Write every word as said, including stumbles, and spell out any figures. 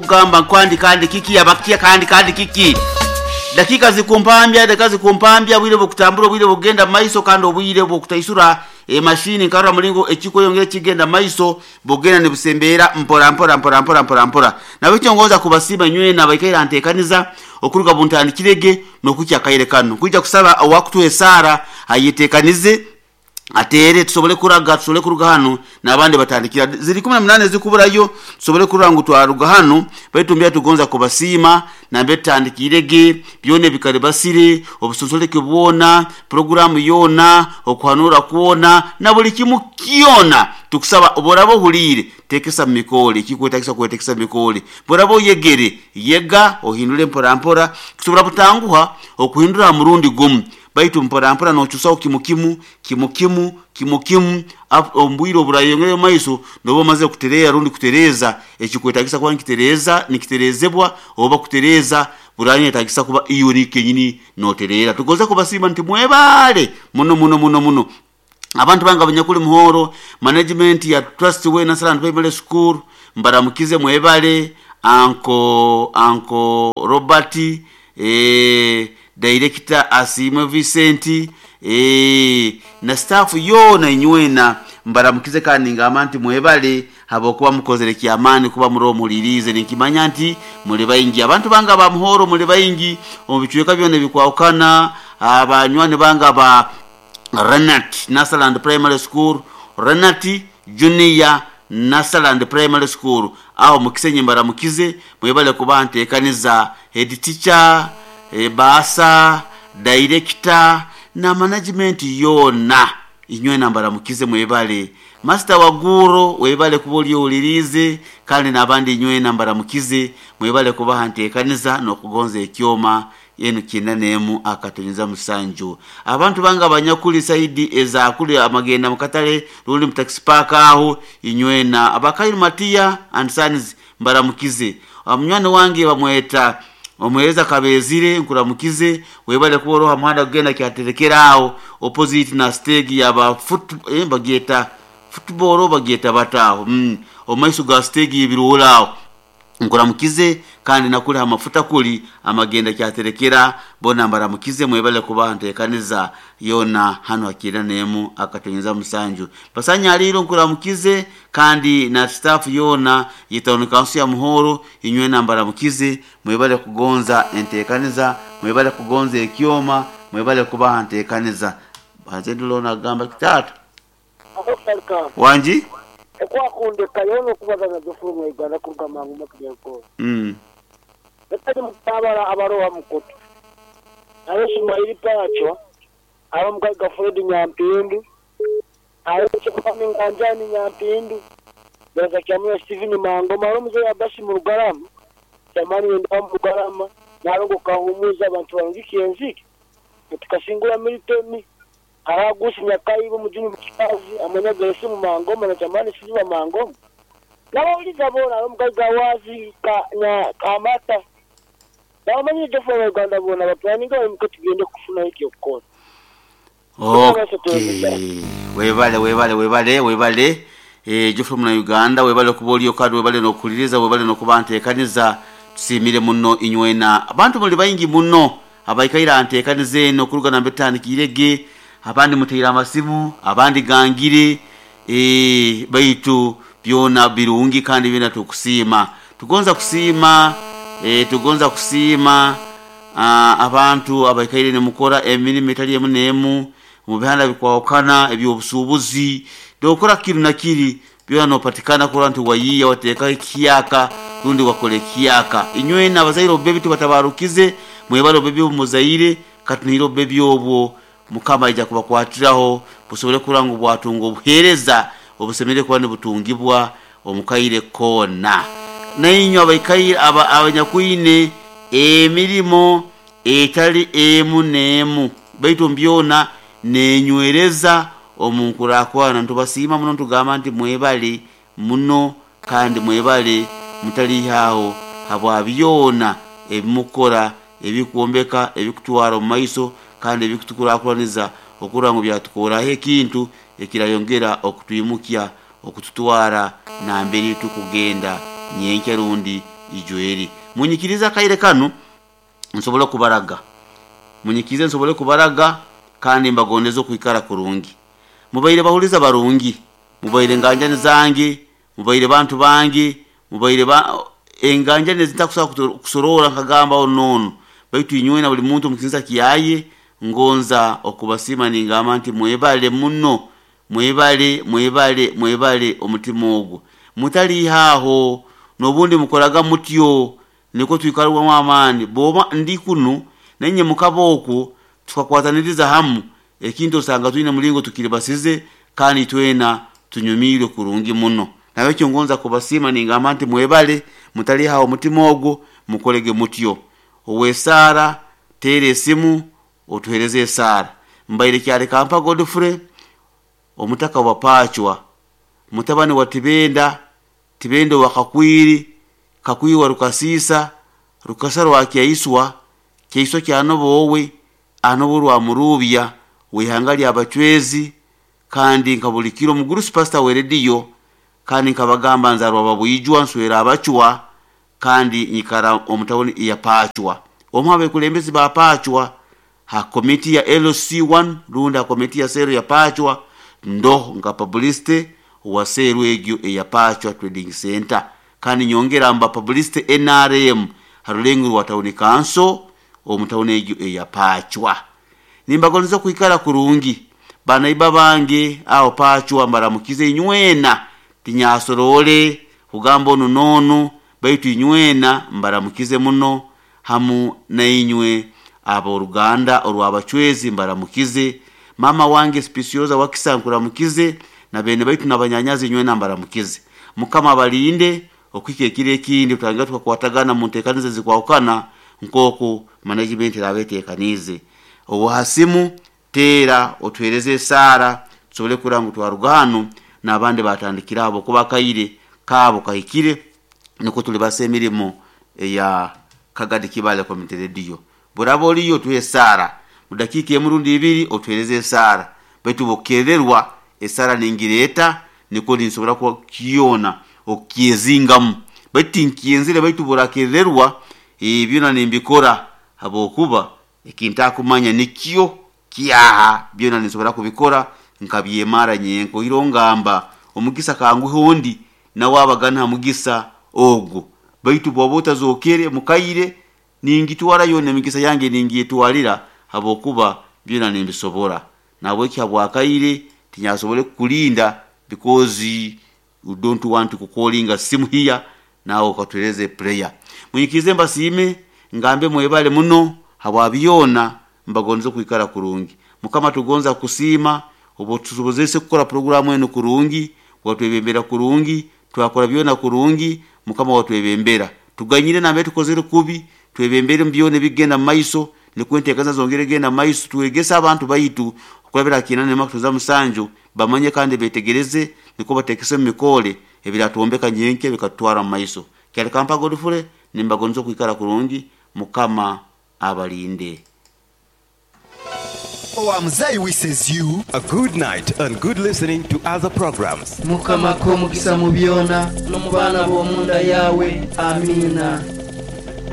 kugamba kandi kandi kiki abakia kandi kandi kiki. Dakika zikumpambya, dakika zikumpambya, bwire bukutambura, bwire bugenda maiso, kandi obwire bukutaisura e mashini nkarora mulingo ekikoyongera kigenda maiso bugenda nibusembera mpora mpora mpora mpora mpora mpora. Nabekyo ngoza kubasiima nywe nabaikaira ntekaniza okuruga buntandikirege nokukya kaire kano kujja kusaba owakutuhe sara ayitekanize atere tusobole kuraga, tusobole kuruga hano nabandi batandikira ziri kumi na munane zikuburayo, tusobole kurura ngu twaruga hano. Baitu mbya tugonza kubasiima nambe tutandikirege byone bikare basire obusosoleke bwona programu yona okuhanura kuona na buli kimu kyona. Tukusaba oborabo hulire tekesa mikole kikwetakisa kwetekesa mikole, borabo yegere yega ohindule mpora mpora, kusobora butanguha okuhindura murundi gumu, baitu mpora mpora nochusaho kimu kimu kimu kimu kimu kimu ombwire oburayongere maiso nobo maze kutereya rundi kutereza ekikwetagisa kuba nikitereza nikiterezebwa oba kutereza buranye tagisa kuba iyo ni kenyini noterera. Tugoza kubasima nti mwebale muno muno muno muno abantu banga abanyakuli Muhoro, management ya Trust Way National Primary School mbaramukize mwebale, anko anko Robert eh director Asimwe Vincent eh na staff yona inywena mbaramukize kandi ngamba nti mwebale habokuba mukozere kyamani kuba muro mulirize nikimanya nti muli bayingi abantu banga ba Muhoro muli bayingi omu bichweka byone bikwawukana abanywani banga ba Renat Nasaland Primary School, Renat Junior Nasaland Primary School aho mukisenye mbaramukize mwebale kuba ntekaniza head teacher e, basa director na management yona inywe nambaramukize mwebale. Master waguro webale kuba oli olirize kandi nabandi inywe nambaramukize mwebale kuba ntekaniza nokugonza ekyoma yenu kyenda nemu akatonyeza musanju. Abantu banga abanyakuli saidi ezakuli amagenda mukatale rundi mu taxi park aho inywena abakairi Matia and Sons mbaramukize. Omunywani wange bamweta omuhereza Kabezire nkuramukize webale kuba roha muhanda kugenda kyaterekera aho opposite na stage yaba foot eh, bageta football bageta bataho mm. Omaiso ga stage yebirowolaawo aho nkuramukize kandi nakuli amafuta kuli amagenda kyaterekera bona mbaramukize mwebale kuba ntekaniza yona hano akira nemu akatonyeza musanju. Basanya aliro nkuramukize kandi na staff yona yitaoni kansu ya Muhoro inywe na mbaramukize mwebale kugonza entekaniza mwebale kugonza ekyoma mwebale kuba ntekaniza. Bazendulona gamba kitatu wanji ekwakunde kayono kubaza dofuru mu Uganda kuruga mangu makiyako mm etali mutabara abaroha mukoto ayo Ismaili Pacho aba mukaga Fred Nyampindu ayo Chikami Nganjani Nyampindu beza kyamwe Steven Mangoma aro muze yabasi mu Rugarama chamani wenda mu Rugarama narongo kahumuza abantu bangikiye nziki tukasingura Milton aragusi nyakaibo mujini mkazi amanyaga Yesu mu Mangoma na chamani siziba Mangoma nabawuliza bona abo mukaga wazi ka nya kamata bamanyi defo wa Uganda bona baplaninga mko tugende kufuna hiki okukora. Okay, webale webale webale webale eh Geoffrey muna Uganda webale kubolyo kandi webale nokuliriza webale nokuba ntekaniza tusimire muno inywena abantu muli bayingi muno abaikaira ntekanize no kuruga na mbetandikirege abandi mutera amasimu abandi gangire eh baitu byona birungi kandi bina tukusima tugonza kusima eh tugonza kusima uh, abantu abaikaire ne mukora emirimu etali emu nemu mu bihanda bikwawukana ebyobusuubuzi dokora kiru na kiri byona nopatikana kura nti wayiya wateka kiyaka rundi wakole kiyaka inywe n'abazaire obebi tubatabarukize mwebale obebi omuzaire katunire obebi obwo mukama aija kubakwatiraho busobole kuranga obwatunga obuheereza obusemere kuba nibutungibwa omukaire koona. Nainywe abaikaire aba abanyakwine emirimo etali emu n'emu baitu mbyona nenywereza omunkurakwana ntubasiima muno ntugamba nti mwebale muno kandi mwebale mutalihaho habwa byona ebimukora ebikuombeka ebikutwara omu maiso kandi ebikutukurakuraniza okura ngu byatukoraho ekintu ekirayongera okutwimukya okututwara nambere tukugenda nyenkya rundi Ijweri. Munyikiriza akaire kanu nsobole kubaraga, munyikirize nsobole kubaraga, kandi mbagondeze okwikara kurungi. Mubaire bahuliza barungi, mubaire nganjani zange, mubaire bantu bange, mubaire ba enganjani ezitakusobola kusorora nkagamba onono, baitu inywe na buli muntu mukinza kiyaye ngonza okubasima ningamba nti mwebale muno, mwebale, mwebale, mwebale omutima ogwo mutalihaho nobundi mukoraga mutyo niko twikarwamu amaani. Boba ndi kunu nenye mukaba okwo tukakwataniriza hamu ekintu osanga twine mulingo tukiribasize kandi twena tunyumirwe kurungi muno. Nabekyo ngonza kubasima ningamba nti mwebale, mutalihaho omutima ogwo, mukolege mutyo. Owesara tere esimu otuhereze esara. Mbaire kyale Kampa Godfrey omutaka wa Pachwa, mutabani wa Tibenda, Tibenda wa Kakwiri, Kakwiri wa Rukasisa, Rukasa rwa Kyaiswa, Kyaiswa kya Nobowe, Anobo rwa Murubya, wihanga lya Bachwezi, kandi nkabulikiro mugurusi pastor we radio, kandi nkabagamba nzarwa babwijwa nswera abachwa, kandi nyikara omutawuni ya Pachwa. Omwe abekulembezi ba Pachwa ha komiti ya L C one runda komiti ya sero ya Pachwa, ndo nka publicity wa sero egyo ya Pachwa Trading Center, kandi nyongera mba publicity N R M harulengo rwa town council omutawuni egyo ya Pachwa. Nimbagoniza kuikara kurungi banaiba bange aho Pachwa, mbaramukize inywena tinyasorole kugamba onu nonu, baitu inywena mbaramukize muno, hamu na inywe aboruganda orwabachwezi mbaramukize, mama wange Specioza wakisankura mukize, na bene baitu nabanyanyazi inywena mbaramukize. Mukama balinde okwike kire kindi tutanga tukakwatagana mu ntekanize zikwawukana nkoko management rabetekanize. Owahasimu tera otwereze sara tusobole kurangu twarugano nabandi batandikira abo kuba kaire kabo kahikire niko tulibase emirimo ya Kagadi Kibale Community Radio. Burabo oliyo tuwe sara mudakika emurundi ibiri otwereze sara, baitu bokererwa esara ningireta niko ninsobora kukiona okyezingamu, baitu nkienzire baitu burakererwa ebyo na nimbikora habokuba ekintakumanya nikyo kiaha byona ninsobora kubikora nkabyemara nyenko irongamba omugisa kanguhe ondi nawe abagana mugisa ogwo, baitu bwoba otazokere mukaire ningitwara yona emigisa yange ningitwalira habokuba byona nimbisobora. Nabwe habwakaire tinyasobole kulinda because you don't want to calling simu here nawe ukatwereze prayer. Munyikize mbasime ngambe mwebale muno habwabyona mbagonze kuikara kurungi. Mukama tugonza kusima obo tusobozese kukora programu eno kurungi, watwebembera kurungi, twakora byona kurungi, mukama watwebembera. Tuganyire nambe tukozere kubi, twebembere mbyone bigenda maiso, nikwente kaza zongere genda maiso, tuwegesa abantu baitu okulabira kinane makutuza musanju bamanye kandi betegereze niko batekese mikole ebiratuombeka nyenke bikatwara maiso. Kyali Kampa Godfrey nimbagonzo kuikara kurungi, mukama abalinde. Mzee wishes you a good night and good listening to other programs. Mukama ko mukisa mu byona no mu bana b'omunda yawe. Amina.